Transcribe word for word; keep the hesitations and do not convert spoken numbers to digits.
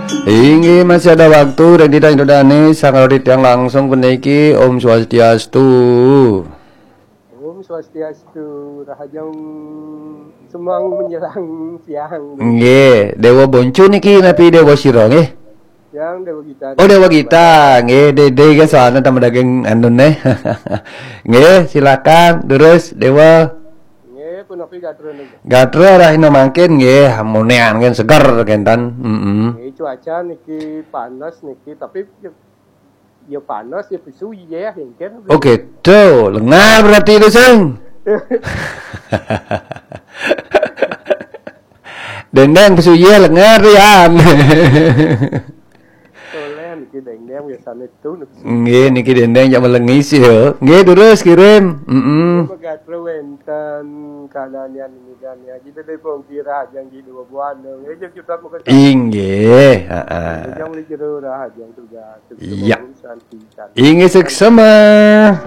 Inggih, masih ada waktu, Randy dan Dodane, sanggar titiang langsung puniki. Om Swastiastu. Om Swastiastu, rahajeng semeng menjelang siang. Nggih, Dewa Boncu niki napi Dewa Sira nggih? Yang Dewa Gita. Oh, Dewa Gita. Nggih, Dede kan soalnya tambah daging anu neh. Nggih, silakan terus Dewa. Nggih, punapi gatra niki. Gatra rahina mangkin nggih, amunean kan seger kenten. Heeh. Nggih, cuaca niki panas niki, tapi ya, ya panas ya pesu ya engken. Oke, tuh, lengar berarti itu sing. Dendeng pesu ya lengar yan. Soalnya niki dendeng biasanya itu niki. Nggih, niki dendeng jak melengis ya. Nggih, terus kirim. Heeh. Gatra wenten keadaan yang ini dan ya. Jadi dari pongkira aja yang di dua bulan. Ya, jadi kita mau ke Inggih, heeh. Yang beli jero raja yang tugas. Iya. Santi. Inggih, suksema.